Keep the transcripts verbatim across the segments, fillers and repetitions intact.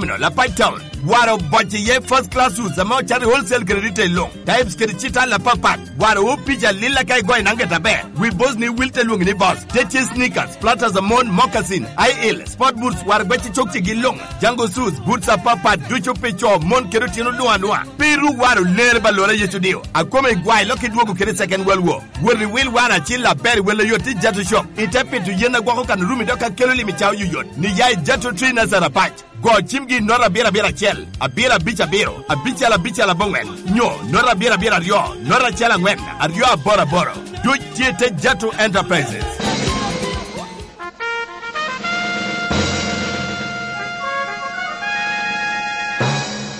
Terminal, Apac Town. Waro bocce iye first class suits ame ocato i wholesale kede retail luŋ. Types kede cital apapat. Waro opic alil aka igoyo naŋ gete aber. Wi boss ni wil te lwoŋi ni boss. Te tye sneakers, platters a mon, moccasin, high heel, sport boots, waro gwecce cokcegi luŋ. Jango suits, boots apapat ducu pi co, mon kede otino luŋ aluŋa. Pe iru waro ler ba lora Yecu dio. Akome igwayo lok idwogo kede second world war. Wot i wil waro acil aber i wel oyot i Jato Shop. Ite pito yen agwoko kan orumi dok akelo lim i cawa yoyot. Ni ya i Jato Tree Nazareth Apac. Go cimgi i nota abiro abiro acel, abiro abic abiro, abicel abicel aboŋwen, nyo nota abiro abiro aryo, nota acel aŋwen, aryo aboro aboro. Duc tye i te Jato Enterprises.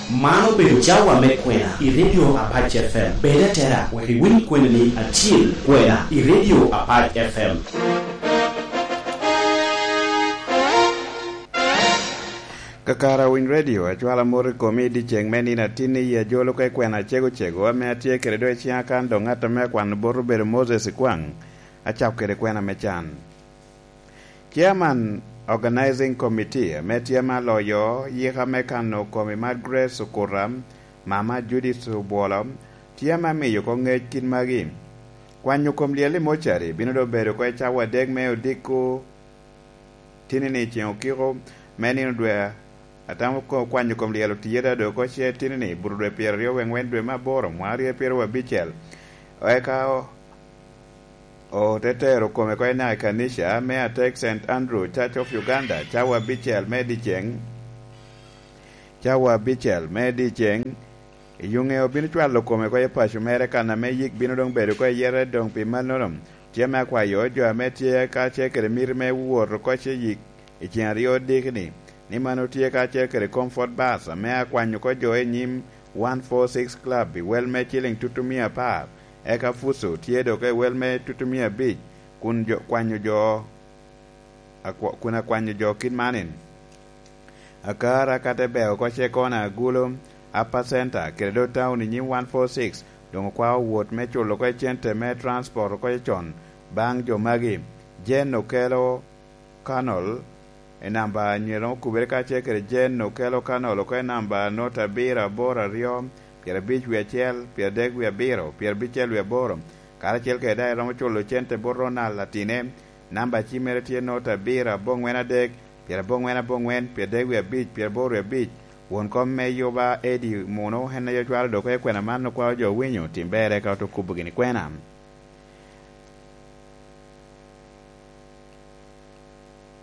Man obedo cawa me kwena i Radio Apac F M. Bed atera wek iwiny kweni ni acil kwena i Radio Apac F M. Kakare Winy Radio, acwalo amot i komi i dyeceŋ me nino atinni i ajolo ka i kwena acego cego ame atye kede do i ciŋa kan dok ŋat ame akwano bot obedo Moses Ikwaŋ, acako kede kwena me can. Chairman Organizing Committee ame tye ame aloyo yika me kano kom i Margaret Sukuta, Mama Judith Obwolo, tye ame amiyo oko ŋec kit magi. Kwanyo kom lyel i mocari bino doŋ bedo oko i cawa adek me odiko tinini ceŋ okiko me nino dwe, atamo ko-, kwanyo kom lyel otiye da doŋ oko ce tinini buto dwe pyeraryo wek ŋwen dwe me aboro mwaka aryo pyeraryo abicel. Eka o-, ote tero kome oko i naka i kanica me Atek Saint Andrew Church of Uganda, cawa abicel me dyeceŋ, cawa abicel me dyeceŋ. I yuŋe obino cwalo kome oko i paco mere kan ame yik bino doŋ bedo oko i yere doŋ pi mannono, tye me akwayo jo ame tye kacel kede miti me wot oko ce yik i ceŋ aryo odiki-ni, ni mano tye kacel kede Comfort Bus ame akwanyo oko jo i nyim one four six Club i wel me ciliŋ tutumia apar, eka Fuso tye doŋ i wel me tutumia abic, kun jo, kwanyo jo, akwa-, kun akwanyo jo kit manin. Akara ka te beo oko ce kona Agulu, Upper Center, kede do town i nyim one four six, doŋ okwao wot me culo oko cente me transport oko con baŋ jo magi. Jane Okello Kanol, i namba anyira okubere kacel kede Jane Okello Kanol oko i namba nota abiro aboro aryo, pyerabic wie acel, pyeradek wie abiro, pyerabicel wie aboro, karacel kede daŋ eromo culo cente bot Ronald Atine, namba cim mere tye nota abiro aboŋwen adek, pyeraboŋwen aboŋwen, pyeradek wie abic, pyeraboro wie abic. Won kom me yuba Eddie Muno en aye ocwalo dok oko i kwena man okwao jo winyo tim berre ka oto kubo gini kwena.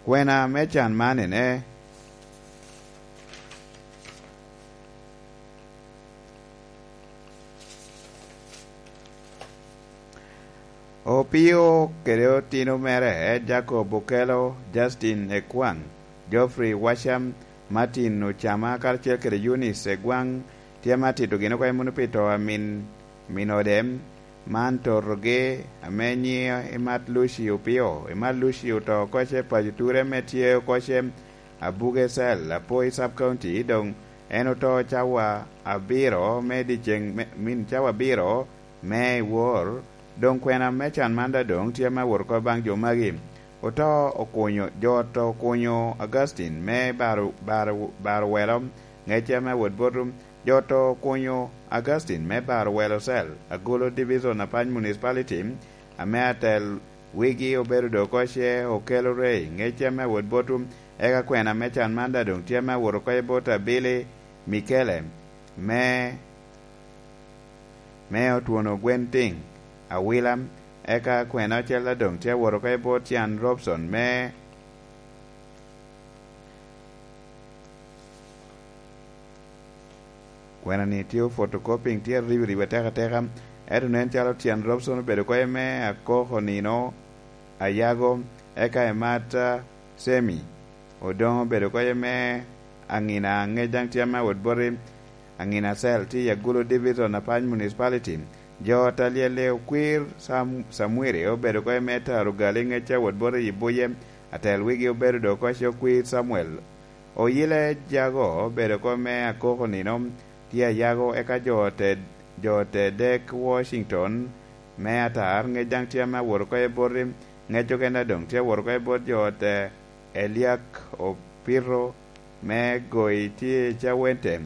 Kwena me can man ene. Opio kede otino mere, Jacob Okello, Justin Ekwaŋ, Geoffrey Washam, Martin Ocama, karacel kede Eunice Egwaŋ, tye ame atito gin oko i muno pi to a min, min ode, man totogi, ame nyiŋe Imat Lucy Opio. Imat Lucy oto oko ce paco ture ame tye oko ce Abuge Cell, Apoi Sub County, doŋ en oto cawa abiro me dyeceŋ, me, min cawa abiro me i wor, doŋ kwena me can man daŋ doŋ tye ame awot oko baŋ jo magi. Oto okunyo, jo oto okunyo Augustine me baro, baro, baro welo, ŋecce ame awot boto. Jo oto okunyo Augustine me baro welo cell, Agulu Division Apac Municipality, ame atel wigi obedo doŋ oko ce Okello Ray, ŋecce ame awot boto. Eka kwena me can man daŋ doŋ tye ame awot oko i bot Abili Mikele, me me otwono gwen tiŋ awila, eka kwena ocel adoŋ tye awot oko i bot Cian Robson me kwena-ni tye photocopying, tye ribiribi atekateka, ento nen calo Cian Robson obedo oko i me akoko nino ayago, eka i mat, ah, Semi. Odoŋ obedo oko i me aŋina aŋec daŋ tye ame awot boti aŋina cell tye i Agulu Division Apac Municipality. Jo ot a lyelle okwir Sam-, Samwiri obedo oko i me taro gali ŋecce awot boti i Buye, atel wigi obedo doŋ oko ce okwir Samuel. Oyile Jago obedo oko me akoko nino tye ayago, eka jo ote, jo ote dek Washington me atar ŋec daŋ tye ame awot oko i boti, ŋec okene doŋ tye awot oko i bot jo ote Eliak Opito me Goi tye i Cawente.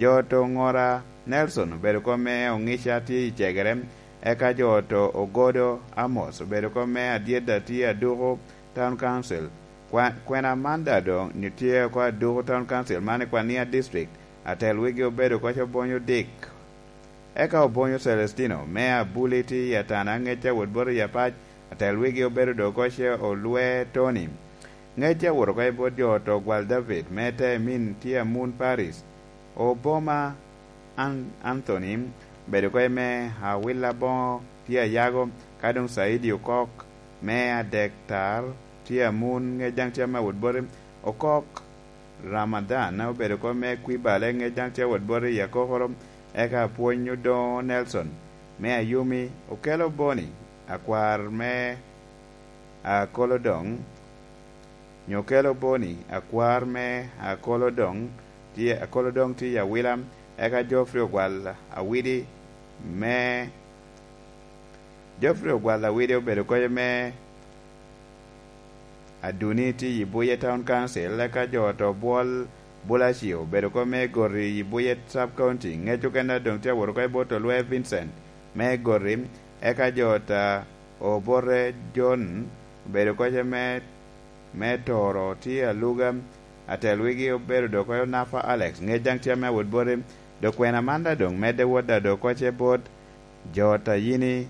Jo to Ŋora Nelson obedo kop me Oŋica tye i Cegere, eka jo to Ogodo Amos obedo kop me Adyeda tye Aduku Town Council. Kwa-, kwena man daŋ doŋ ni tye oko Aduku Town Council man i Kwania District, atel wigi obedo koc Obonyo Dick. Eka Obonyo Celestino me Abuli tye i Atana, ŋec a wot bot i Apac, atel wigi obedo doŋ koc Olwe Tony. Ŋec a wot oko i bot jo to Gwal David me Temin tye Amun Paris. Oboma An-, Anthony obedo koc me Awila Boŋo tye Ayago, ka doŋ Saidi Okok me Adektar tye Amun, ŋec daŋ tye ame wot boti Okok. Ramadhan obedo kop me Kwibale, ŋec daŋ tye wot bot i Akokoro, eka Apwony Odoŋo Nelson me Ayumi, Okelo Boni, akwar me Akolodoŋ, nyo Okelo Boni, akwar me Akolodoŋ, tye, Akolodoŋ tye i Awila, eka Geoffrey Ogwal Awidi me, Geoffrey Ogwal Awidi obedo koc me Aduni tye i Buye Town Council, eka jo to Bwol Bulacio obedo kop me Goti i Buye Sub County, ŋec okene doŋ tye awot oko i bot Olwe Vincent me Goti, eka jo ta Obote John obedo koc me, me Toro tye Aluga, atel wigi obedo doŋ koc Nafa Alex, ŋec daŋ tye ame awot boti, dokwena man daŋ doŋ medde wot daŋ doŋ koc i bot jo ta Yini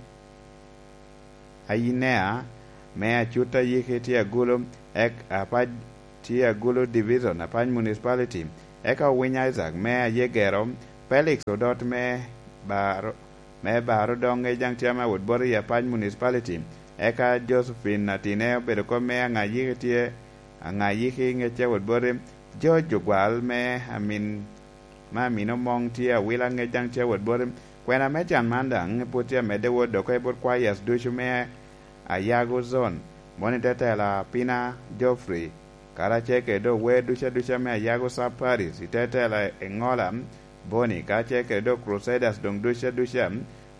Ayinea me Acut Ayiki tye Agulu, ek Apac tye Agulu Division, Apac Municipality, eka Owiny Isaac me Ayegero, Felix Odot me Baro, me Baro doŋ ŋec daŋ tye ame awot boti i Apac Municipality, eka Josephine Atine obedo kop me Aŋayiki tye, Aŋayiki ŋec tye awot boti, George Ogwal me Amin me Amino Moŋ tye Awila ŋec daŋ tye awot boti. Kwena me can man daŋ pwod tye amedde wot doŋ oko i bot kwayas ducu me Ayago Zone, moni te tela Pina Geoffrey, karacel kede doŋ wer ducu aduca me Ayago Sub Parish, i te tela Eŋola Boni, karacel kede doŋ Crusaders doŋ ducu aduca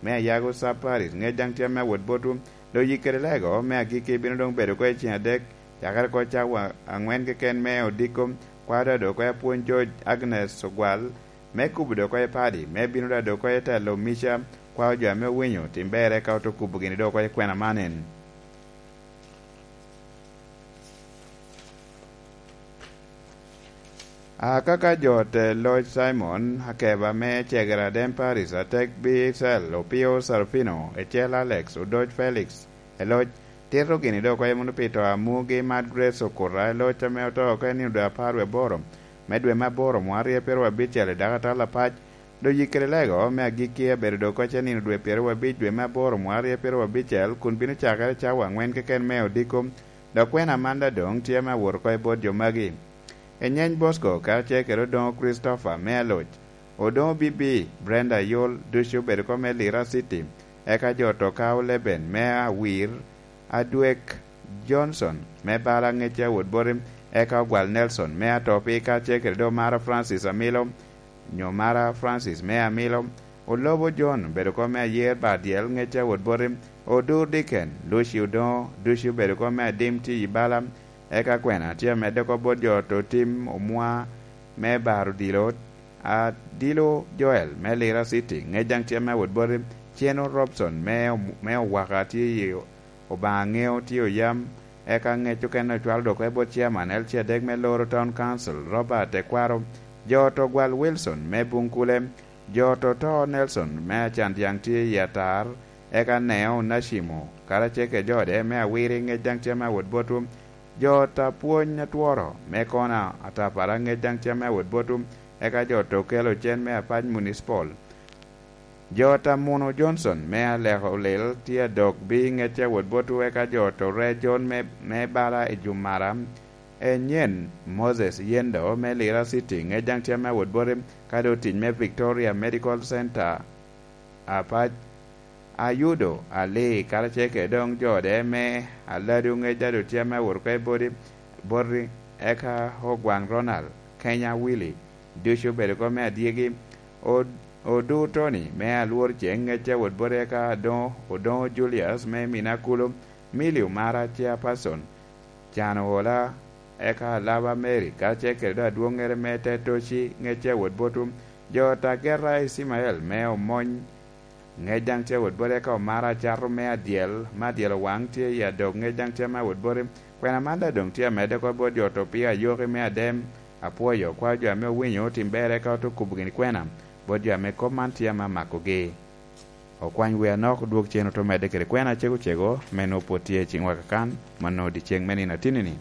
me Ayago Sub Parish, ŋec daŋ tye ame awot botwu. Doŋ yik kede lego me agikki bino doŋ bedo oko i ceŋ adek, cakere oko cawa aŋwen keken me odiko, kwaro daŋ doŋ oko i apwony George Agnes Ogwal, me kubo doŋ oko i padi, me bino daŋ doŋ oko i telo Mica, kwao jo ame owinyo tim berre ka oto kubo gini doŋ oko i kwena man en. Akaka jo te loc Simon Akeba me Cegera Aden Paris atek Bicel Opio Sarufino ecel Alex Odoc Felix eloc tito gini doŋ oko i muno pi to amugi Mad Grace Okuta eloc ame oto oko i nino dwe apar wie aboro me dwe me aboro mwa aryo pyeraryo abicel i dako atal apac. Doŋ yik kede lego me agikki abedo doŋ oko i nino dwe pyeraryo abic dwe me aboro mwa aryo pyeraryo abicel kun bino cakere cawa aŋwen keken me odiko. Dok kwena man daŋ doŋ tye ame awot oko i bot jo magi. Enyeny Bosco karacel kede Odoŋo Christopher me Aloc, Odoŋo Bibi, Brenda Ayol, ducu obedo oko me Lira City, eka jo to Kao Leben me Awir, Adwek Johnson me Bala ŋec a wot boti, eka Ogwal Nelson me Atopi karacel kede doŋ Mara Francis Amilo, nyo Mara Francis me Amilo, Olobo John obedo oko me Ayer Badyel ŋec a wot boti, Odur Diken, Lucy Odoŋo, ducu obedo oko me Adim tye i Bala, eka kwena tye amedde oko bot jo to tim omwa me Baro Dilo, Adilo Joel me Lira City, ŋec daŋ tye ame awot boti, Ceno Robson me, me Owaka tye i Obaŋa Ŋeo tye oyam, eka ŋec okene ocwalo doŋ oko i bot Chairman L C adek me Loro Town Council, Robert Ekwaro, jo to Gwal Wilson me Buŋkule, jo to to Nelson me Acandiaŋ tye i Atar, eka Neo Nacimo, karacel kede jo ode me Awiri ŋec daŋ tye ame awot botwu, jo ta pwony atworo me Kona Atapara ŋec daŋ tye ame awot botwu, eka jo to kelo cen me Apac Municipal. Jo ta Muno Johnson me Aleko Lil tye adok bi ŋec a wot botwu, eka jo to Re John me, me Bala i Jumara, Enyen Moses Yendo me Lira City ŋec daŋ tye ame awot boti, ka doŋ tic me Victoria Medical Center Apac, Ayudo Ali karacel kede doŋ jo ode me Aladu ŋec daŋ doŋ tye ame awot oko i boti, boti, eka Ogwaŋ Ronald, Kenya Willy, ducu obedo oko me adyegi, Od-, Odu Tony me Alwor Ceŋ ŋec a wot boti, eka Adoŋo, Odoŋo Julius me Minakulu, Milly Omara Chairperson, Can Ohola, eka Alaba Mary, karacel kede doŋ adwoŋŋere me Tetoci, ŋecce a wot botwu, jo ot ageta Icimael me Omony, ŋec daŋ tye a wot botwu, eka Omara Acato me Adyel, me Adyel Owaŋ tye i Adok, ŋec daŋ tye ame a wot botwu. Kwena man daŋ doŋ tye amedde oko bot jo ot Opio Ayoki me Adem. Apwoyo okwa jo ame owinyo otim ber, eka ote kubo gini kwena bot jo ame kop man tye ame amakogi. Okwany wi anok odwog cen ote medde kede kwena acego cego me nwoŋo pwod tye i ciŋwa kakan, mano dyeceŋ me nino atinni-ni.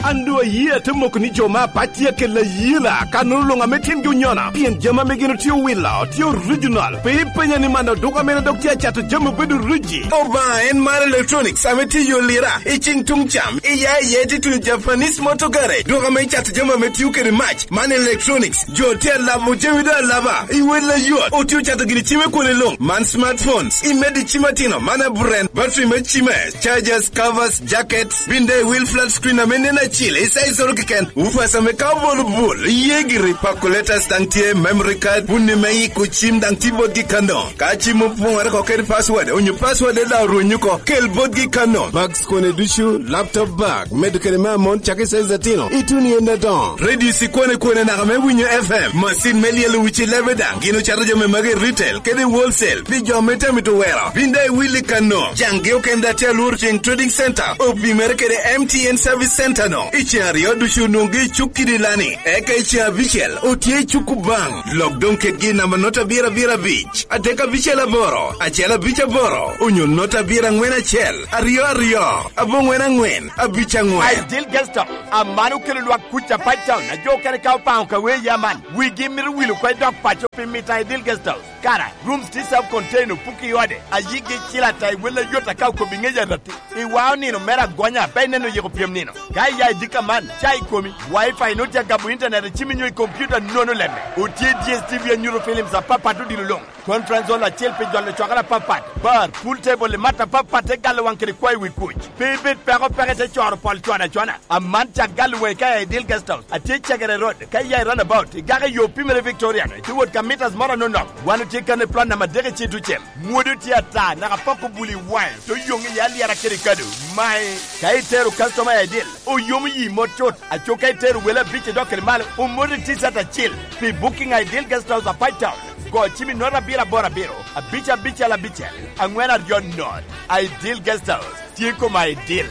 An doŋ aye ate moko ni jo me apac tye akelo ayela, kannono luŋ ame tyengi onyona, pien jami ame gin otye owilo tye original. Pe ipenya ni man oduka mene dok tye acato jami obedo riji. Obaŋa en mar Electronics ame tye i yo Lira, i ciŋ tuŋ cam, i ya iye tye tuno Japanese Motor Garage, duka ame cato jami ame tio kede mac. Man Electronics, jo tye alabo jami doŋ alaba, i wel ayot, otye ocato gini cim i kwone luŋ, man smartphones, i medo i cim atino, man aburen, battery me cime, chargers, covers, jackets, bin doŋ i wil flat screen ame nen acil, i size oro keken, woofers ame ka obolo bul, iye giri, calculators daŋ tye, memory card, bunni me yiko cim daŋ tye botgi kano. Ka cim opoŋere oko kede password, onyo password daŋ orwenyo oko, kel botgi kano. Bags kone ducu, laptop bag, medo kede me amon cakki size atino, ituno i en adoŋo. Radio sikwane kwane naka me winyo F M, masin me lyelo wici lebe daŋ, gin ocato jami magi i retail kede i wholesale, pi jo ame tye amito wero. Bin daŋ iwil i kano. Caŋgi okene daŋ tye alworo ceŋ Trading Center, opimere kede M T N Service Center no. I ceŋ aryo ducu onwoŋogi i cuk kidi lani, eka i ceŋ abicel otye i cuk Kubaŋ. Lok doŋ kedgi i namba nota abiro abiro abic, adek abicel aboro, acel abic aboro, onyo nota abiro aŋwen acel, aryo aryo, aboŋwen aŋwen, abic aŋwen. Ideal Guest House, aman okelo lwak kuc a Pine Town, a jo okene ka opaŋo ka wee ya man, wigi mito wil oko i dog paco pi mito Ideal Guest House. Kara, rooms tye self contained, opuki i ode, a yigi cil ata i wel ayot aka okobo i ŋec aratti. I wao nino mere agonya, pe ineno yiko pyem nino. Ka iya i dika man, ca i komi, Wi-Fi nwoŋo tye agabo internet i cimi nyo i computer nono lemme. Otye D S T V anyuto films apapat odilo luŋ. Conference hall acel pi jolo cwakere apapat, bar, pool table i mat apapat te galo waŋ kede kwayo wi kuc. Pe ibed peko peke te coro pol cwada cwana. Aman cak galo waŋi ka i Ideal Guest House. Atye i Cagere Road, ka iya i roundabout, igako i yo pimere Victoria, ite wot ka meters moro anonok. Wan otye kan i plot namba adek i Citucem. Mwodi otye ata, naka pok obuli waŋe, te oyoŋ iye alyera kede kado. Mae, ka itero customer i Ideal, oyomo yi mot cut. Aco ka itero wele abic i dok kede malo, omoti t-shirt acil. Pi booking a Ideal Guest House a Pine Town, go cim i nota abiro aboro abiro, abic abicel abicel, aŋwen aryo not. Ideal Guest House, tye kom Ideal.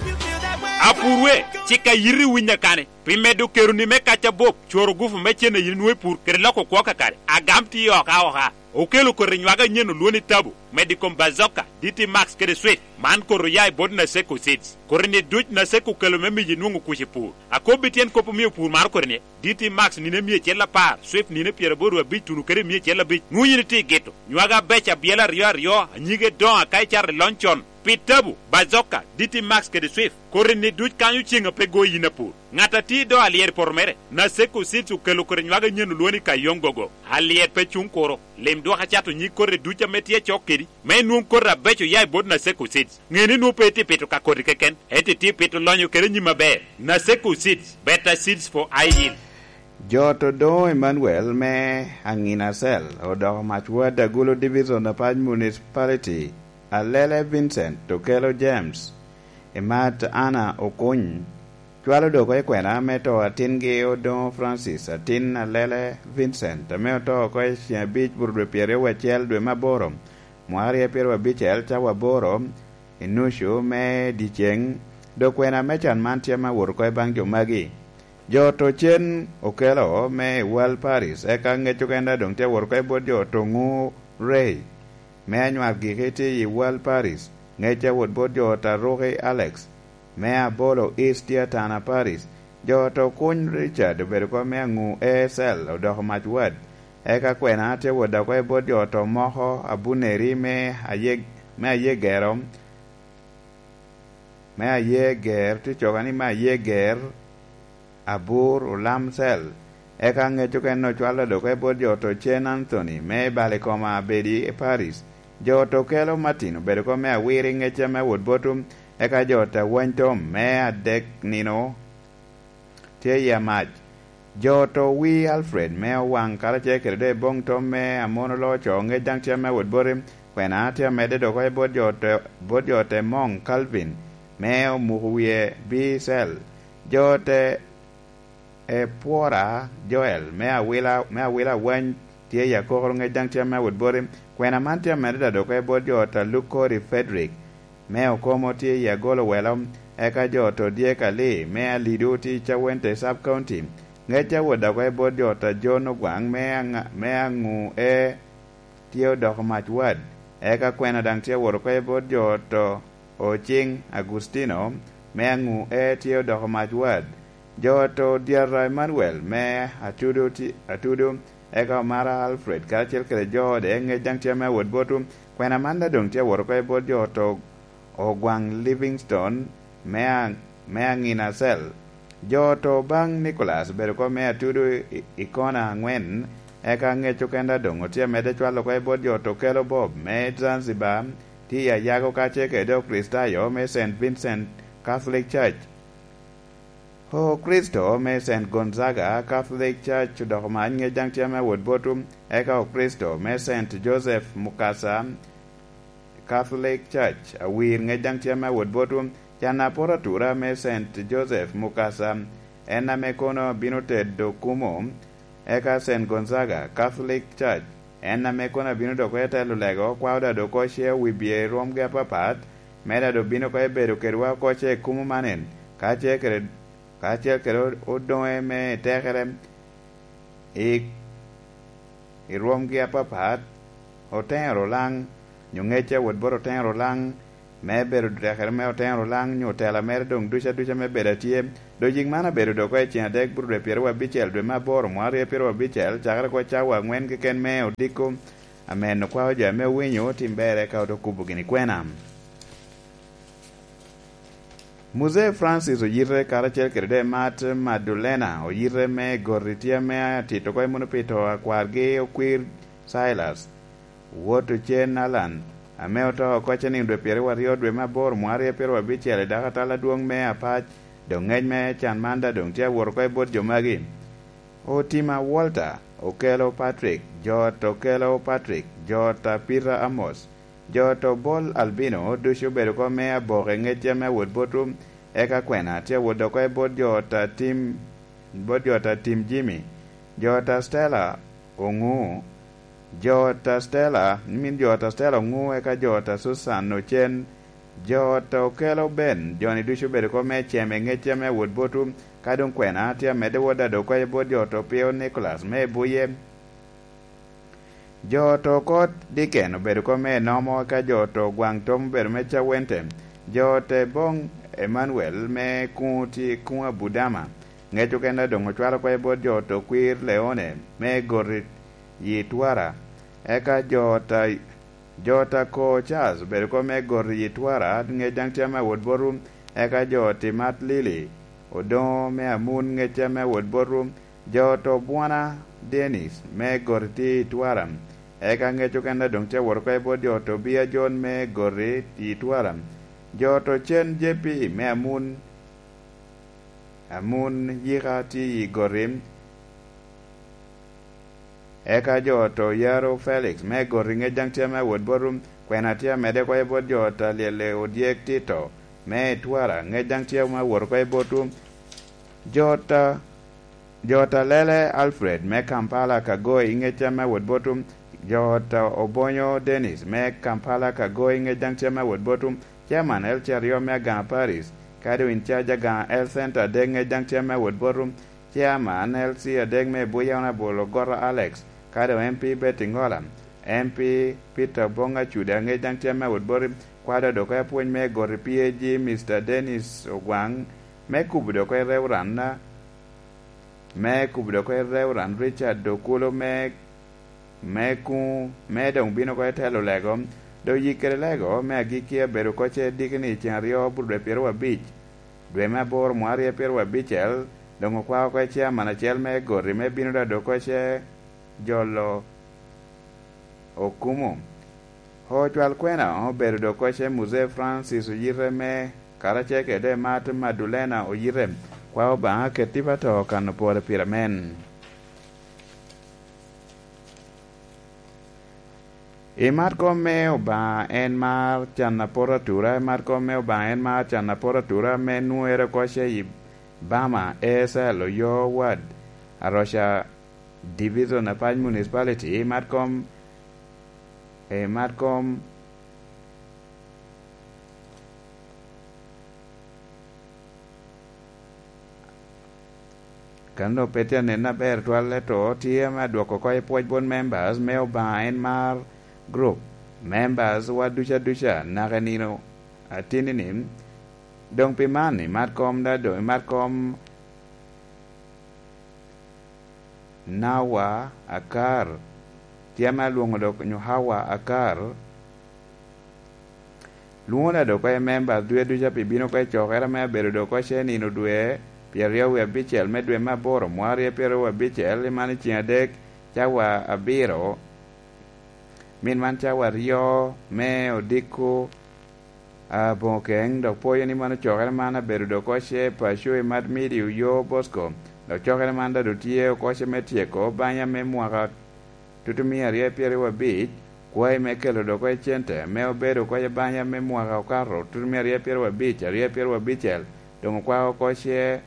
Apurwe, cik a yiti winyo kani, pi medo keroni me kac abup, cworo gufu me cen a yin inwoŋo i pur, kede loko kwo kakare, agam tye oka oka. Okelo koti nywage anyen olwoni Tabu, medo i kom Bazooka, D T Max kede Swift. Man koti oya i bot Naseko Seeds. Koti-ni duc Naseko okelo me miyo inwoŋo kuc i pur. Akobbi tyen kop omio pur maro koti-ni, D T Max nino emia acel apar, Swift nino pyeraboro abic tuno kede emia acel abic. Nwoŋo yin itye i gito. Nywage abeco abyela aryo aryo, anyige doŋ aka icato i lony con. Pi Tabu, Bazooka, D T Max kede Swift, koti-ni duc kanyo ceŋ a pe go yin apur. Ŋat a tye i do alyero i poto mere, Naseko Seeds okelo koti nywage anyen olwoŋo ni Kayong Gogo. Alyet pe cuŋ kuro. Lim dwok acato nyig koti duc ame tye acok kedi, me inwoŋ koti abeco oya i bot Naseko Seeds. Ŋe ni nwoŋo pe itye pito ka koti keken, ento itye pito lonyo kede nyim aber. Naseko Seeds, better seeds for ideal. Jot Odoŋo Emmanuel me Aŋina Cell odoko mac ward Agulu Division Apac Municipality, Alele Vincent Okelo James, Imat Anna Okuny, cwalo dok oko i kwena me to atingi Odoŋo Francis, atin Alele Vincent, ame oto oko i ceŋ abic bur dwe pyeraryo wacel dwe me aboro, mwaka aryo pyeraryo abicel cawa aboro i nucu me dyeceŋ, dok kwena me can man tye ame awot oko i baŋ jo magi. Jo oto cen Okelo me i Wal Paris, eka ŋec okene doŋ tye awot oko i bot jo oto Ŋu Rey me anywak giki tye i Wal Paris, ŋec awot bot jo oto Aruki Alex me Abolo East tye Atana Paris. Jo oto Okuny Richard obedo oko me Aŋu A S L odoko mac wad, eka kwena tye awot oko i bot jo oto moko Abuneri me Ayeg-, me Ayegero, me Ayeger, tye coga ni me Ayeger, Abur, Olam Cell. Eka ŋec okene ocwalo dok i bot jo oto Cen Anthony me Balikoma Abedi i Paris. Jo oto Okelo Martin obedo oko me Awiri ŋec ame awot botwu, eka jo oto Awany Tom me Adek Nino tye i Amac. Jo oto Wi Alfred me Owaŋ karacel kede doŋ i Boŋ Tom me Amon Oloco ŋec daŋ tye ame awot boti, kwena tye amedde dok oko i bot jo oto, bot jo oto Emong Calvin me Omuko Wiye B Cell. Jo te Epwora Joel me Awila, me Awila Awany tye i akokoro ŋec daŋ tye ame awot boti. Kwena man tye amedde daŋ dok oko i bot jo ot a Lukori Frederick me Okomo tye i Agolo Welo, eka jo ot Odyek Ali me Alido tye i Cawente Sub County. Ŋec awot daŋ oko i bot jo ot a John Ogwaŋ me Aŋa-, me Aŋu E tye odoko mac wad, eka kwena daŋ tye awot oko i bot jo ot Ociŋ Agustino me Aŋu E tye odoko mac wad. Jo ot Odyata Emmanuel me Atudo ti-, Atudo, eka Omara Alfred karacel kede jo ode ŋec daŋ tye ame awot botwu. Kwena man daŋ doŋ tye awot oko i bot jo ot Ogwaŋ Livingstone me a-, me Aŋina Cell. Jo ot Obaŋ Nicholas obedo oko me Atudo i, i kona aŋwen, eka ŋec oken daŋ doŋ otye amedde cwalo oko i bot jo ot Okello Bob me Zanzibar, tye i Ayago kacel kede Okricitayo me Saint Vincent Catholic Church. Okricito me Saint Gonzaga Catholic Church odoko mac ŋec daŋ tye ame awot botwu, eka Okricito me Saint Joseph Mukasa Catholic Church Awir ŋec daŋ tye ame awot botwu. Can aporo atura me Saint Joseph Mukasa, en ame kono bino tedo kumo, eka Saint Gonzaga Catholic Church, en ame kono abino dok oko i telo lego, kwao daŋ dok oko ce wi bye i rwomgi apapat, me daŋ dok bino oko i bedo kedwa oko ce i kumo manen, ka ce kede, kacel kede odoŋe me tekere i, i rwomgi apapat, Oteŋo Rulaŋ, nyo ŋecce awot bot Oteŋo Rulaŋ, me bedo tekere me Oteŋo Rulaŋ, nyo tela mere doŋ ducu aduca me bedo atye. Doŋ yiŋ man abedo dok oko i cen adek, bur dwe pyeraryo abicel, dwe me aboro, mwaka aryo pyeraryo abicel, cakere oko cawa aŋwen keken me odiko, amen okwao jo ame owinyo tim berre ka oto kubo gini kwena. Muzee Francis Oyite karacel kede Demat Madulena Oyite me Goti tye ame atito oko i muno pi to a kwargi Okwir Silas, wot Ocen Alan, ame oto oko ceniŋ dwe pyeraryo aryo dwe me aboro mwaka aryo pyeraryo abicel i dako atal adwoŋ me Apac, doŋ ŋec me can man daŋ doŋ tye awot oko i bot jo magi. Otima Walter, Okello Patrick, jo ot Okello Patrick, jo ot a Peter Amos, jo ot Obol Albino, ducu obedo oko me aboke ŋecce me awot botwu, eka kwena tye awot oko i bot jo ot a Tim, bot jo ot a Tim Jimmy, jo ot a Stella Oŋu, jo ot a Stella, min jo ot a Stella Oŋu, eka jo ot a Susan Ocen, jo ot a Okello Ben, jo-ni ducu obedo oko me cem i ŋecce me awot botwu, ka doŋ kwena tye amedde wot adok oko i bot jo ot Opio Nicholas me Ebuye. Jo ot Okot Diken obedo oko me Enomo, eka jo ot Ogwaŋ Tom obedo me Cawente. Jo ot Ebong Emmanuel me Kuŋ tye Kuŋ Abudama. Ŋec oken a doŋ ocwalo oko i bot jo ot Okwir Leone me Goti yi Twara. Eka jo ot a, jo ot Ako Charles obedo oko me Goti yi Twara, ŋec daŋ tye ame awot botwu. Eka jo ot Imat Lili Odoŋo me Amun, ŋec tye ame awot botwu. Jo ot Obwona Dennis me Goti tye i Twara. Eka ŋec oken a doŋ tye awot oko i bot jo ot Obia John me Goti i Twara. Jo ot Ocen J P me Amun, Amun Yika tye i Goti. Eka jo ot Oyaro Felix me Goti ŋec daŋ tye ame awot botwu. Kwena tye amedde oko i bot jo ot Alyelle Odyek Tito me Twara, ŋec daŋ tye ame awot oko i botwu. Jo ot a, jo ot Alele Alfred me Kampala Kagoi, ŋec tye ame awot botwu. Jo ot Obonyo Dennis me Kampala Kagoi, ŋec daŋ tye ame awot botwu. Chairman L C aryo me Aganga Parish, ka doŋ in charge Aganga Health Center adek, ŋec daŋ tye ame awot botwu. Chairman L C adek me Ebuya Honorable Ogota Alex, ka doŋ M P Betty Ngola, M P Peter Obong Acuda, ŋec daŋ tye ame awot boti. Kwado dok apwony me Goti P A G, Mister Dennis Ogwaŋ, me kubo dok i Reverend, me kubo dok i Reverend Richard Dokulo me, me kuŋ, me doŋ bino oko i telo lego. Doŋ yik kede lego me agikki abedo oko ce dikini i ceng aryo bur dwe pyeraryo abic, dwe me aboro mwaka aryo pyeraryo abicel, doŋ okwao oko i chairman acel me Goti me bino daŋ dok oko ce jolo okumo. Ocwal kwena obedo dok oko ce Muzee Francis Oyite me, karacel kede Martin Madulena Oyite. Kwa Obaŋa ket tipo ato kano pwode pire men. I mat kom me Obaŋa en mar can apot atura, i mat kom me Obaŋa en mar can apot atura, me nwoŋere oko ce i, Bama, A S L, Oyo Ward, Aroca Division, Apac Municipality, Matkom, e Matkom, Kan dok pe tye anen aber twal, ento tye ame adwoko oko i pwoc bot members me Obaŋa en mar group members wa duca duca naka i nino atinni-ni. Doŋ pi man, imat kom da, doŋ imat kom Nawa Akar, tye ame alwoŋo dok nyo Hawa Akar. Lwoŋo da dok oko i members dwe duca pi bino oko i cokere ame abedo dok oko ce nino dwe pyeraryo wie abicel me dwe me aboro, mwaka aryo pyeraryo wie abicel, i man i ceŋ adek, cawa abiro. Min man cawa aryo me odiko aboŋo keŋ, dok pwoyo ni mano cokere man abedo dok oko ce i paco i Mad Midi Oyo Bosco, dok cokere man da dok tye oko ce me tyeko banya me mwaka tutumia aryo pyeraryo abic, kwai me kelo dok oko i cente me obedo oko i banya me mwaka okato tutumia aryo pyeraryo abic, aryo pyeraryo abicel, doŋ okwao oko ce,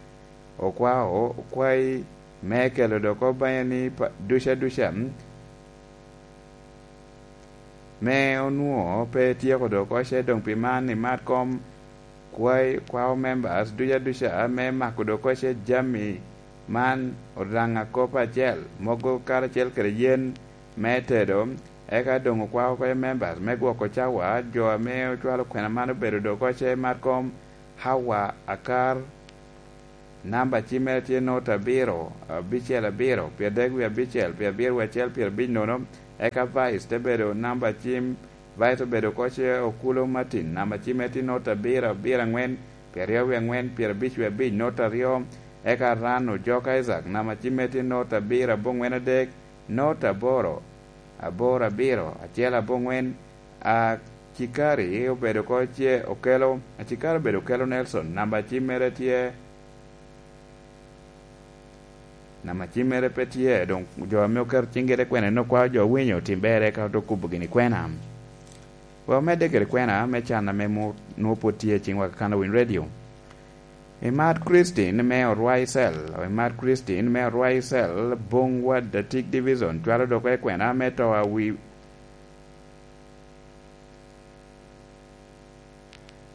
okwao okwai me kelo dok oko banya ni pa-, duca duca, me onwoŋo pe etyeko dok oko ce. Doŋ pi man, imat kom kwai, kwao members duca duca me mako dok oko ce jami man, Odaŋ a kop acel, mogo karacel kede yen me tedo, eka doŋ okwao oko ce members me gwoko cawa, jo ame ocwalo kwena man obedo dok oko ce, imat kom Hawa Akar, namba cimmere tye nota abiro, abicel abiro, pyeradek wie abicel, pyerabiro wie acel, pyerabic nono, eka Vice te bedo namba cim, Vice obedo oko ce Okulo Martin, namba cimmere tye nota abiro, abiro aŋwen, pyeraryo wie aŋwen, pyerabic wie abic, nota aryo, eka Ran Ojok Isaac, namba cimmere tye nota abiro, aboŋwen adek, nota aboro, aboro abiro, acel aboŋwen, Acikari obedo oko ce Okelo, Acikari obedo Okelo Nelson, namba cimmere tye, namba cimmere pe tye, doŋ jo ame oketo ciŋgi te kwena en okwao jo owinyo tim berre ka ote kubo gini kwena. We omedde kede kwena me can ame mo-, nwoŋo pwod tye i ciŋwa kakano Winy Radio. Imat Christine me Orwaicel, imat Christine me Orwaicel, Bung Wad Atik Division, cwalo dok oko i kwena me to a wi-,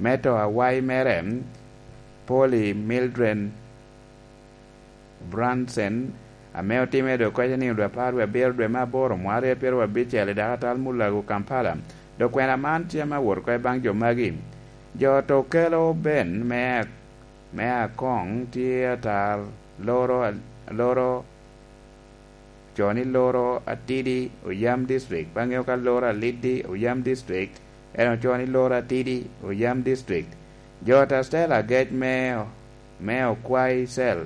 me to awayi mere, Polly Mildred Brunson, ame otimme dok oko i nino dwe apar wie abiro dwe me aboro, mwaka aryo pyeraryo abicel, i dakatal Mulago, Kampala. Dok kwena man tye ame awot oko i baŋ jo magi. Jo to kelo ben me, me akoŋ tye atar loro, loro co ni Loro Atidi, Oyam District, pe aŋeo ka Loro Alidi, Oyam District, en oco ni Loro Atidi, Oyam District. Jo ta Stella agec me, me Okwai Cell.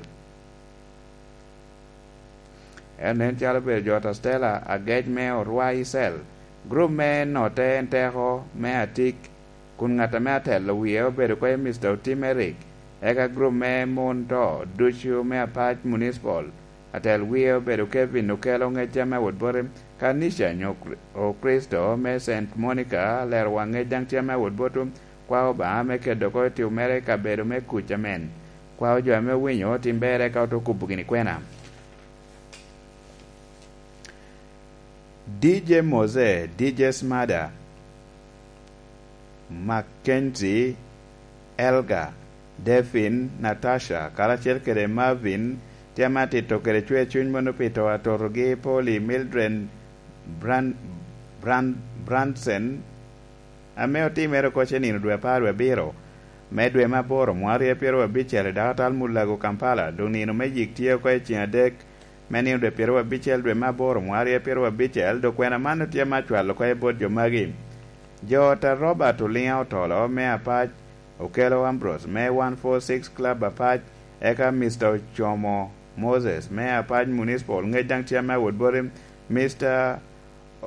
En nen calo obedo jo ta Stella agec me Orwai Cell. Grup me notte en teko me Atik, kun ŋat ame atelo wie obedo oko i Mister Otim Eric, eka grup me mon to ducu me Apac Municipal, atel wie obedo Kevin Okello, ŋec tye ame awot boti, Kanisha nyo Kri-, Okricito me Saint Monica, lero wa, ŋec daŋ tye ame awot botwu, kwao Obaŋa me keto oko i tim mere i kabedo me kuc amen. Kwao jo ame owinyo tim berre ka ote kubo gini kwena. D J Mose, D J Smada, Mackenzie, Elga, Devin, Natasha, karacel kede Marvin, tye ame atito kede cwer cuny mono pi to atotogi, Polly, Mildred, Bran-, Bran-, Branson, ame otimere oko ce nino dwe apar wie abiro me dwe me aboro, mwaka aryo pyeraryo abicel, i dakatal Mulago, Kampala, doŋ nino me yik tye oko i ceŋ adek me nino dwe pyeraryo abicel dwe me aboro, mwaka aryo pyeraryo abicel, dok kwena man otye me acwalo oko i bot jo magi. Jo ta Robert Oliŋa Otolo me Apac, Okello Ambrose me one four six Club Apac, eka Mister Ocomo Moses me Apac Municipal, ŋec daŋ tye ame awot boti, Mister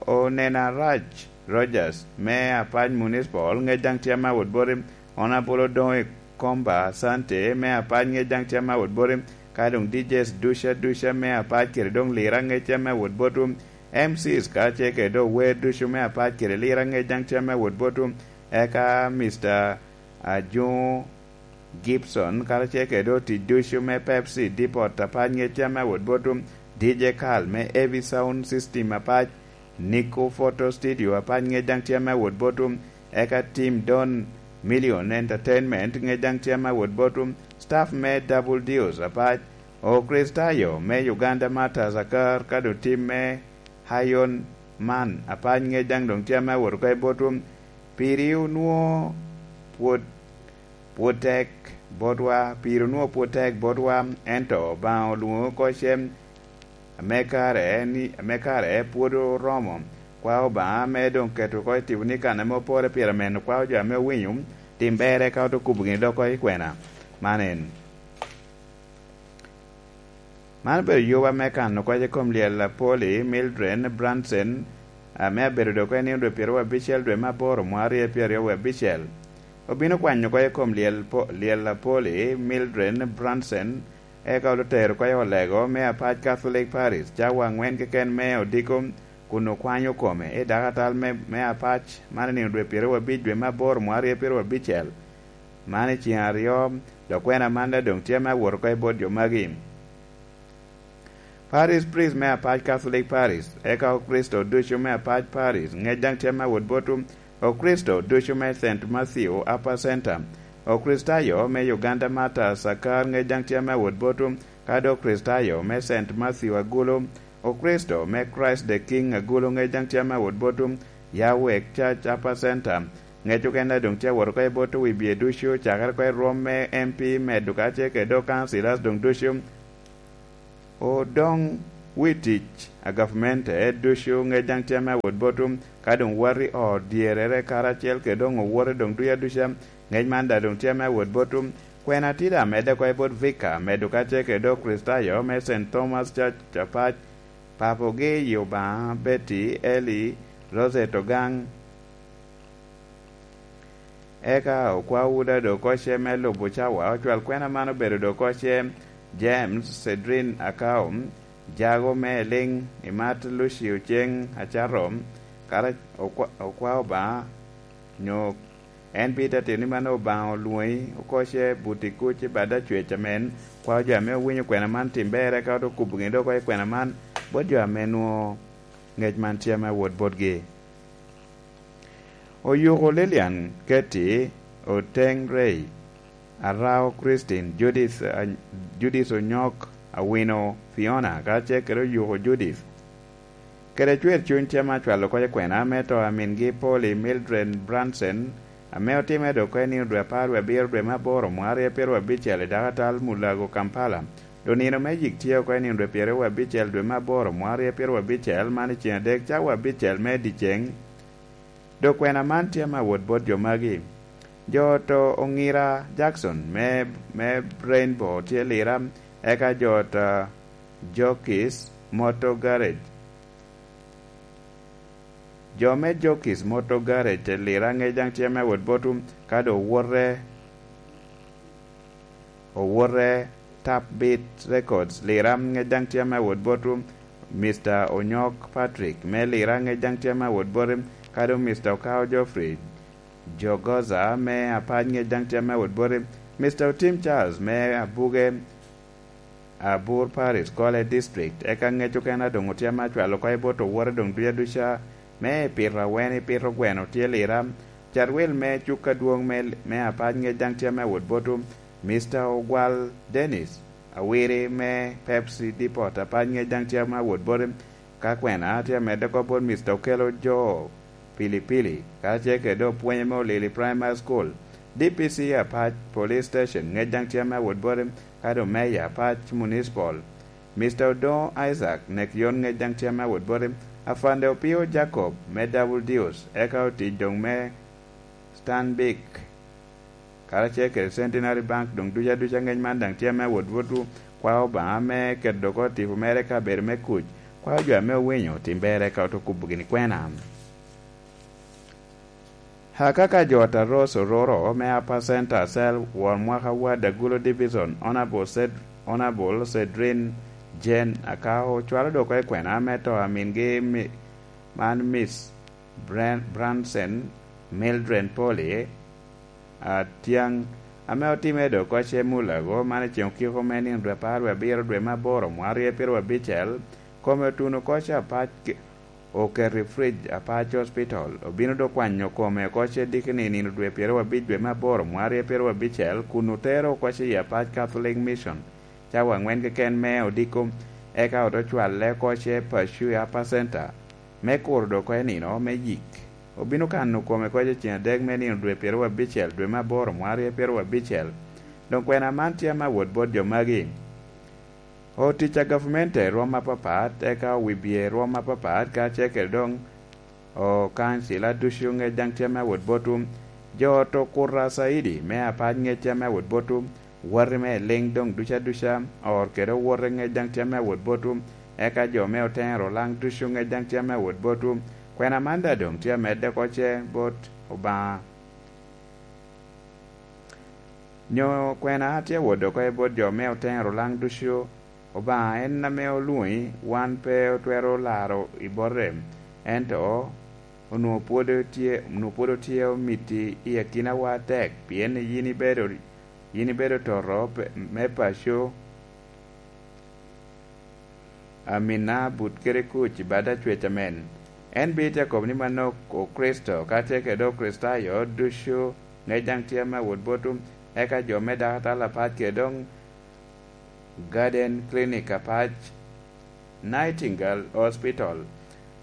Onena Raj Rogers me Apac Municipal, ŋec daŋ tye ame awot boti, Honorable Odoŋo Ikomba Sante me Apac, ŋec daŋ tye ame awot boti, ka doŋ D Js duca duca me Apac kede doŋ Lira, ŋec tye ame awot botwu, M Cs karacel kede doŋ wer ducu me Apac kede Lira, ŋec daŋ tye ame awot botwu, eka Mister Ajuŋo Gibson, karacel kede otic ducu me Pepsi, Depot apac ŋec tye ame awot botwu, D J Carl me Heavy Sound System apac, Nico Photo Studio apac ŋec daŋ tye ame awot botwu, eka Tim Don Million Entertainment ŋec daŋ tye ame awot botwu, staff me Double Deals apac, Okricitayo me Uganda Martyrs Akar, ka doŋ tim me Hayon Man apac ŋec daŋ doŋ tye ame awot oko i botwu, piri onwoŋo pwod pwod tek botwa, piri onwoŋo pwod tek botwa, ento Obaŋa olwoŋo oko cem ame kare ni, ame kare pwod oromo. Kwa Obaŋa me doŋ keto oko i tipo ni kan ame opore pire meno, kwa jo ame owinyo, tim berre ka ote kubo gini dok oko i kwena. Man en. Man obedo yuba me kano kwac i kom lyel a Polly Mildred Branson, ame abedo dok en i dwe pyeraryo abicel dwe me aboro mwaka aryo pyeraryo abicel. Obino kwanyo kwac i kom lyel po-, lyel a Polly Mildred Branson, eka otero kwac i olego me apac Catholic Parish, cawa angwen keken me odiko, kun okwanyo kome i dakatal me, me apac, man i nino dwe pyeraryo abic dwe me aboro mwaka aryo pyeraryo abicel. Man i ceng aryo, dok kwena man daŋ doŋ tye ame awot oko i bot jo magi. Parish priest me apac Catholic Parish, eka Okricito ducu me apac Parish, ŋec daŋ tye ame awot botwu, Okricito ducu me Saint Matthew Upper Center, Okricitayo me Uganda Martyrs Akar, ŋec daŋ tye ame awot botwu, ka doŋ Okricitayo me Saint Matthew Agulu, Okricito me Christ the King Agulu, ŋec daŋ tye ame awot botwu, Yawek Church Upper Center, ŋec okene doŋ tye awot oko i bot wi bye ducu, cakere oko i rwom me M P medo kacel kede doŋ councillors doŋ ducu. Odoŋ wi tic a gavmente ducu ŋec daŋ tye ame awot botwu, ka doŋ wati ot dyerere karacel kede doŋ owote doŋ ducu aduca, ŋec man daŋ doŋ tye ame awot botwu. Kwena tye daŋ amedde oko i bot Vika medo kacel kede doŋ Okricitayo me Saint Thomas Church apac, papogi i Obaŋa Betty Elly Rosette Ogang. Eka okwa Uda doŋ oko ce me lubo cawa, ocwal kwena man obedo doŋ oko ce James Cedrin Akao, jago me Eliŋ, imat Lucio Ceng Acato, kara okwa, okwa Obaŋa, nyo en bita tito ni mano Obaŋa olwoŋi oko ce buti kuc i bad acwec amen, kwa jo ame owinyo kwena man tim berre, ka ote kubo gini doŋ oko i kwena man, bot jo ame nwoŋo ŋec man tye ame awot botgi. Oyuko Lilian Ketty, Oteng Ray, Arao Christine, Judith, a-, Judith Onyok, Awino Fiona, kacel kede Oyuko Judith. Kede cwer cuny tye ame acwalo kop i kwena me to a mingi Polly Mildred Branson, ame otimere dok oko i nino dwe apar wie abiro dwe me aboro mwaka aryo pyeraryo abicel i dakatal Mulago, Kampala. Doŋ nino me yik tye oko i nino dwe pyeraryo wie abicel dwe me aboro mwaka aryo pyeraryo abicel, man i ceng adek cawa abicel me dyeceŋ. Dok kwena man tye ame awot bot jo magi. Jo oto Oŋira Jackson me, me Rainbow tye Lira, eka jo oto Jokis Motor Garage. Jo me Jokis Motor Garage i Lira ŋec daŋ tye ame awot botwu, ka doŋ owote, owote Tap Beat Records Lira ŋec daŋ tye ame awot botwu, Mister Onyok Patrick me Lira ŋec daŋ tye ame awot botwu, ka doŋ Mister Okao Geoffrey Jogoza me Apac ŋec daŋ tye ame awot botwu, Mister Otim Charles me Abuge, Abur Parish, Kole District, eka ŋec okene a doŋ otye ame acwalo oko i bot owote doŋ duc aduca, me pito awene, pito gweno tye Lira. Carwil me cuk adwoŋ me, me Apac ŋec daŋ tye ame awot botwu, Mister Ogwal Dennis Awiri me Pepsi Depot Apac ŋec daŋ tye ame awot botwu, ka kwena tye amedde oko bot Mister Okelo Jo Pilipili, kacel kede doŋ opwonye me Olili Primary School, D P C Apac Police Station ŋec daŋ tye ame awot botwu, ka doŋ Meya Apac Municipal, Mister Odoŋo Isaac Nekion ŋec daŋ tye ame awot botwu, Afande Opio Jacob me Double Deals, eka otic doŋ me Stanbic, karacel kede Centenary Bank doŋ duc aduca ŋec man daŋ tye ame awot botwu, kwa Obaŋa me keto dok oko tipo mere i kabedo me kuc, kwa jo ame owinyo tim berre ka ote kubo gini kwena. Akaka jo Taros Ororo me Upper Center Cell, won mwaka Ward Agulo Division, Honorable Ced-, Honorable Cedrin Jane Akao, cwalo dok oko i kwena me to a mingi mi-, man Miss Bran-, Branson Mildred Polly Atiang ame otimme dok oko ce mulago, man i ceŋ okiko me nino dwe apar wie abiro dwe me aboro mwarye pyeraryo abicel, kome otuno oko ce apac ke-, oketo i fridge apac hospital. Obino dok kwanyo kome oko ce dikini i nino dwe pyeraryo abic dwe me aboro mwarye pyeraryo abicel, kun otero oko ce i apac Catholic Mission, cawa angwen keken me odiko, eka ote cwalle oko ce paco i Upper Center, me kuro dok oko i nino me yik. Obino kano kome oko ce ceŋ adek me nino dwe pyeraryo abicel dwe me aboro mwarye pyeraryo abicel. Doŋ kwena man tye ame awot bot jo magi. Otic a gavumenti i rwom apapat, eka owibye i rwom apapat, kacel kede doŋ okancila ducu ŋec daŋ tye ame awot botwu. Jo ot okuto acaidi me apac ŋec tye ame awot botwu. Wati me liŋ doŋ duca duca, or kede owote ŋec daŋ tye ame awot botwu. Eka jo me otero laŋ ducu ŋec daŋ tye ame awot botwu. Kwena man daŋ doŋ tye amedde oko ce bot Obaŋa. Nyo kwena tye awot oko i bot jo me otero laŋ ducu? Obaŋa en ame olwoŋi, wan pe otwero laro i bote, ento onwoŋo pwod otye, onwoŋo pwod otye omiti i akinawa atek, pien yin ibedo, yin ibedo toto pe-, me paco, amina but kede kuc i bad acwec amen. En bite akobo ni manok Okricito, kacel kede Okricitayo ducu, ŋec daŋ tye ame awot botwu, eka jo me dakatal apac kede doŋ Garden Clinic apac, Nightingale Hospital.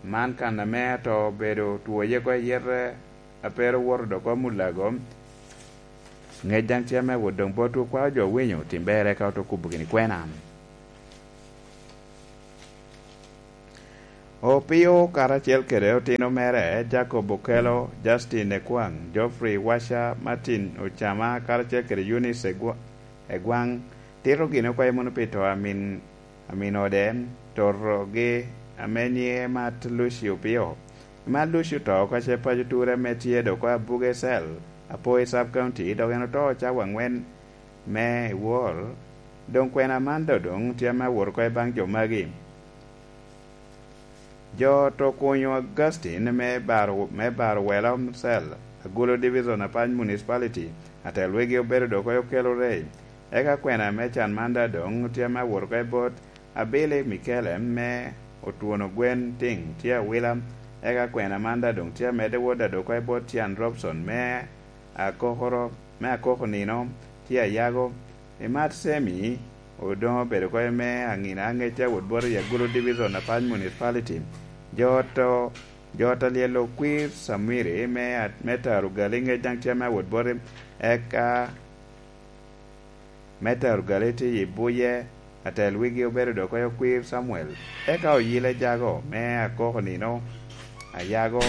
Man kan ame ato obedo two ye oko i yete, a pe ru woto dok oko mulago. Ŋec daŋ tye ame awot doŋ botwu, kwao jo winyo tim ber eka oto kubo gini kwena. Opio karacel kede otino mere, Jacob Okello, Justin Ekwaŋ, Geoffrey Wacha, Martin Ocama, karacel kede Eunice Egwa-, Egwaŋ, tito gin oko i muno pi to a min, a min ode, torogi ame nyiŋe Mat Lucy Opio. Mat Lucy oto oko ce paco ture ame tye dok oko Abuge Cell, Apoi Sub County, dok en oto cawa angwen me i wor. Doŋ kwena man doŋ tye ame awot oko i baŋ jo magi. Jo ot okunyo Augustine me baro, me baro Welo Cell, Agulu Division, Apac Municipality, atel wegi obedo dok oko Okello Ray. Eka kwena me can man daŋ doŋ tye ame awot oko i bot Abili Mikele me Otwono Gwen Tiŋ tye awila. Eka kwena man daŋ doŋ tye amedde wot daŋ dok oko i bot Tian Robson me Akokoro, me Akoko Nino tye ayago. Imat Semi, Odoŋo obedo oko me aŋina aŋec a wot boti i Agulu Division, Apac Municipality. Jo ot o-, jo ot alyel okwir Samwiri me a-, me Taro Gali ŋec daŋ tye ame awot boti, eka me Taro Gali tye i Buye, atel wigi obedo dok oko okwir Samuel, eka Oyile Jago me Akoko Nino, ayago.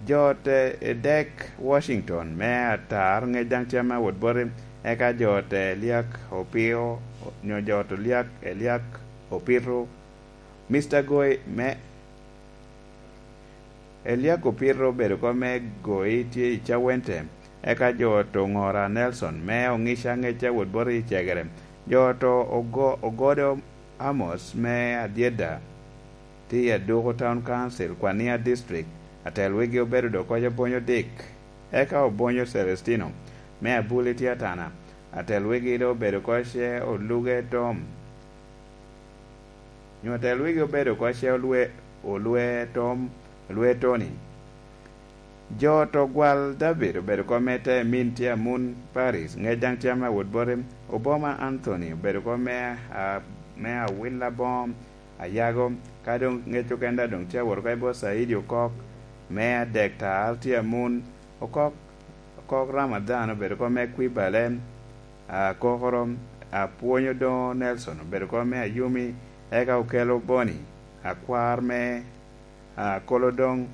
Jo ot Edek Washington me Atar ŋec daŋ tye ame awot boti, eka jo ot Eliak Opio, nyo jo ot Eliak, Eliak Opito, Mister Goi me, Eliak Opito obedo oko me Goi tye i Cawente, eka jo ot Oŋora Nelson me Oŋica ŋec awot boti i Cegere, jo ot Ogo-, Ogodo Amos me Adyeda, tye i Aduku Town Council, Kwania District, atel wigi obedo dok oko Obonyo Dick, eka Obonyo Celestino, me Abuli tye Atana, atel wigi dok obedo oko ce Oluge Tom, nyo atel wigi obedo oko ce Olwe, Olwe Tom, Olwe Tony. Jo ot Ogwal David obedo oko me Temin tye Amun Paris, ŋec daŋ tye ame awot boti. Oboma Anthony obedo oko me, a, me Awila Bom, ayago, ka doŋ ŋec okene daŋ doŋ tye awot oko i bot Saidi Okok, me Adek Tar tye Amun, Okok, Okok Ramadhan obedo oko me Kwibale, Akokoro, Apwony Odoŋo Nelson obedo oko me Ayumi, eka Okello Boni, akwar me, a, Kolo doŋ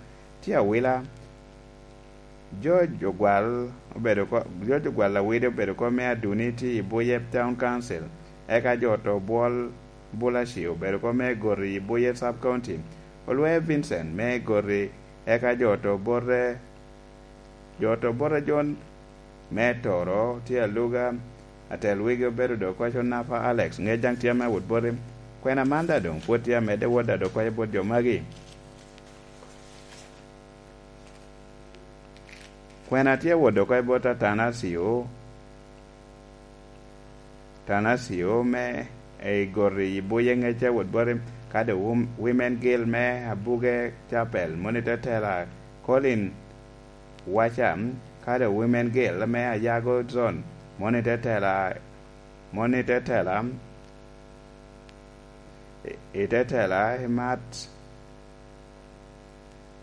tye awila. George Ogwal obedo ko-, George Ogwal Lawidi obedo oko me Aduni tye i Buye Town Council, eka jo ot Obwol Bulaci obedo oko me Goti i Buye Sub County. Olwe Vincent me Goti, eka jo ot Obote, jo ot Obote John me Toro tye Aluga, atel wigi obedo dok oko Onafa Alex, ŋec daŋ tye ame awot boti. Kwena man daŋ doŋ pwod tye amedde wot daŋ dok oko bot jo magi. Kwena tye awot oko i bot Atanasio, Atanasio me i goti i Buye Ŋecca wot boti, kadi Wom-, Women Guild me Abuge Chapel, moni te tela Colin Wacha, kadi Women Guild me Ayago Zone, moni te tela, moni te tela, i, i te tela i Mat,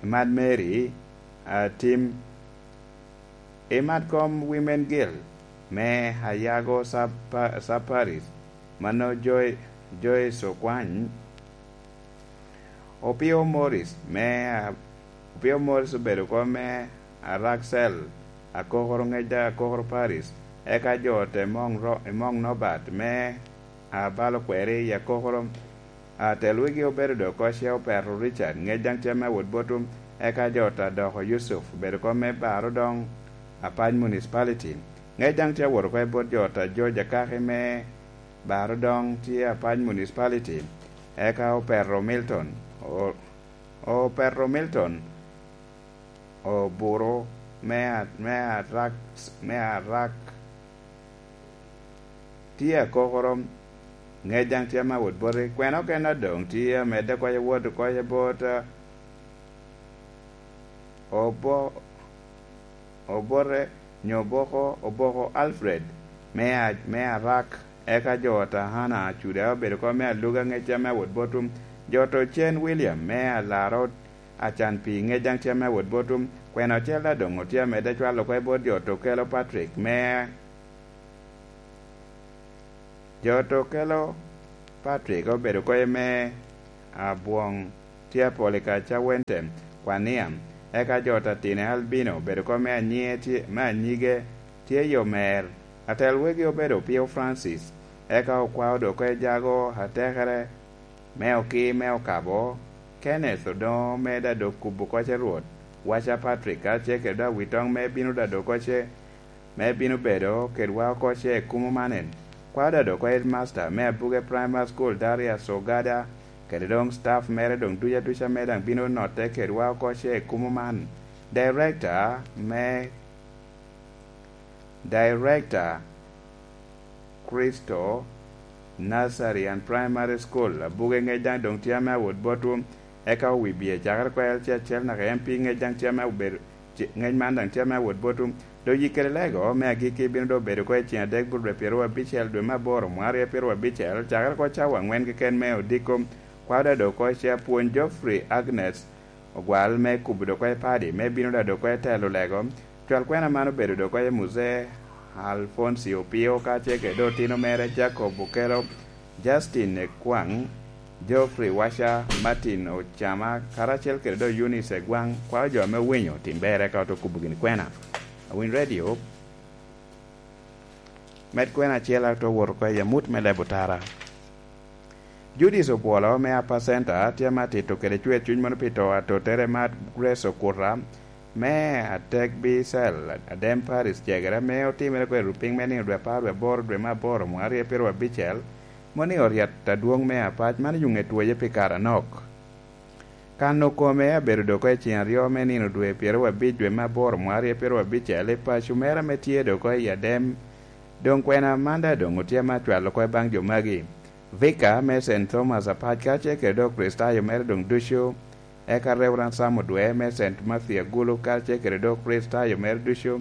i Mat Mary, a, Tim, i Mat kom Women Guild me Ayago Sub-, Sub Parish, mano Joy-, Joyce Okwany, Opio Morris me, a, Opio Morris obedo kom me Araxel, Akokoro Ŋecca, Akokoro Parish, eka jo te Mong Ro-, i Mong Nobat me, a, Balo Kweri i Akokoro. A, tel wigi obedo dok oko ce Opero Richard, Ŋecca daŋ tye me wot botum, eka jo ta doko Yusuf, obedo kom me Baro Doŋ, Apac Municipality. Ŋecca daŋ tye awot oko i bot jo ta George Akaki me Baro Doŋ tye Apac Municipality, eka Opero Milton, o-, Opero Milton, Oburu me a-, me Arak, me Arak, tye Akokoro, Ŋecca daŋ tye me wot boti. Kwena okene a doŋ tye amedde oko i wot oko i bot, a, Obo-, Obote, nyo Oboko, Oboko Alfred me a-, me Arak, eka jo ta Hana Acuda obedo kom me Aluga Ŋecca me wot botum, jo ta Ocen William me Alaro Acan Pii Ŋecca daŋ tye me wot botum. Kwena ocel a doŋ otye amedde cwalo oko i bot jo ta Okelo Patrick me Jo ta Okelo Patrick obedo oko i me Abwoŋ, tye Apolikaca Wente, Kwania, eka jo ta Tine Albino obedo oko me Anyie tye, me Anyige tye Yomer, atel wegi obedo Opio Francis, eka okwao dok oko i Jago atekere me Okii me Okabo, Kenneth Odoŋo me Dadok Kubo Koce Rwot, Waca Patrick, kacel kede Awitoŋ me bino Dadok Koce me bino bedo kedwa oko ce i kumo man en. Kwao Dadok oko Headmaster me Abuge Primary School, Darius Ogada, kede doŋ staff mere doŋ duca duca me daŋ bino notte kedwa oko ce i kumo man. Director me, Director Kristo Nursery and Primary School, Abuge Ŋecca daŋ doŋ tye ame awot botwu, eka owibie cakere kwel ce acel naka en pi Ŋecca daŋ tye ame obedo, ce-, Ŋecca man daŋ tye ame awot botwu. Doŋ yik kede lego me agikki bino doŋ bedo oko i ceng adek bur dwe pyeraryo abicel dwe me aboro mwaryo pyeraryo abicel, cakere oko cawa aŋwen keken me odiko. Kwao Dadok oko ce apwony Geoffrey Agnes Ogwal me kubo dok oko i padi, me bino Dadok oko i telo lego. Cwal kwena man obedo dok oko i Muzee Alfonsi Opio, kacel kede otino mere Jacob Okelo, Justin Ekwaŋ, Geoffrey Waca, Martin Ocama, karacel kede doŋ Eunice Egwaŋ, kwao jo ame owinyo tim ber eka oto kubo gini kwena. Awiny Radio, med kwena acel ato wot oko i amut me leb otara. Judith Obwolo me Upper Center tye ame atito kede cwer cuny mono pi to atotere Mad Grace Okuta me Atek Bicel, Adem Parish, Cegere, ame otimere oko i rupiny me nino dwe apar dwe aboro dwe me aboro mwaryo pyeraryo abicel, moni oryet adwoŋ me Apac man oyuŋe twoye pi kare anok. Kano kome abedo dok oko i ceng aryo me nino dwe pyeraryo abic dwe me aboro mwaryo pyeraryo abicel i paco mere ame tye dok oko i Adem. Doŋ kwena man daŋ doŋ otye ame acwalo oko i baŋ jo magi. Vika me Saint Thomas Apac kacel kede doŋ Kricitayo mere doŋ ducu, eka Reverend Sam Odwe me Saint Matthew Agulu kacel kede doŋ Kricitayo mere ducu,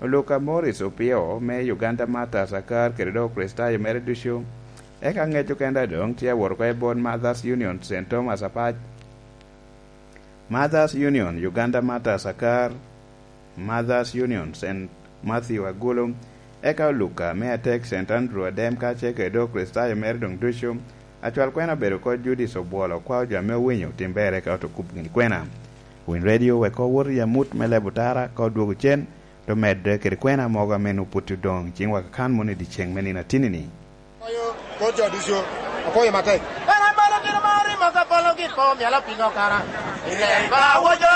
Luka Morris Opio me Uganda Martyrs Akar kede doŋ Kricitayo mere ducu, eka ŋec okene daŋ doŋ tye awot oko i bot Mothers Union Saint Thomas Apac, Mothers Union Uganda Martyrs Akar, Mothers Union Saint Matthew Agulu, eka Luka me Atek Saint Andrew Adem kacel kede doŋ Kricitayo mere doŋ ducu. Acwal kwena obedo oko Judith Obwolo, kwao jo ame owinyo tim ber eka oto kubo gini kwena. Winy Radio wek owot i amut me leb otara ka odwogo cen, to medde kede kwena mogo ame nwoŋo pwod odoŋ i ciŋwa kakan mono i dyeceŋ me nino atinni-ni. Oyo, kor jo ducu, akoyo matek. Kara balo gin mari maka balo gin po myala pingo kara. Ilen ba wojo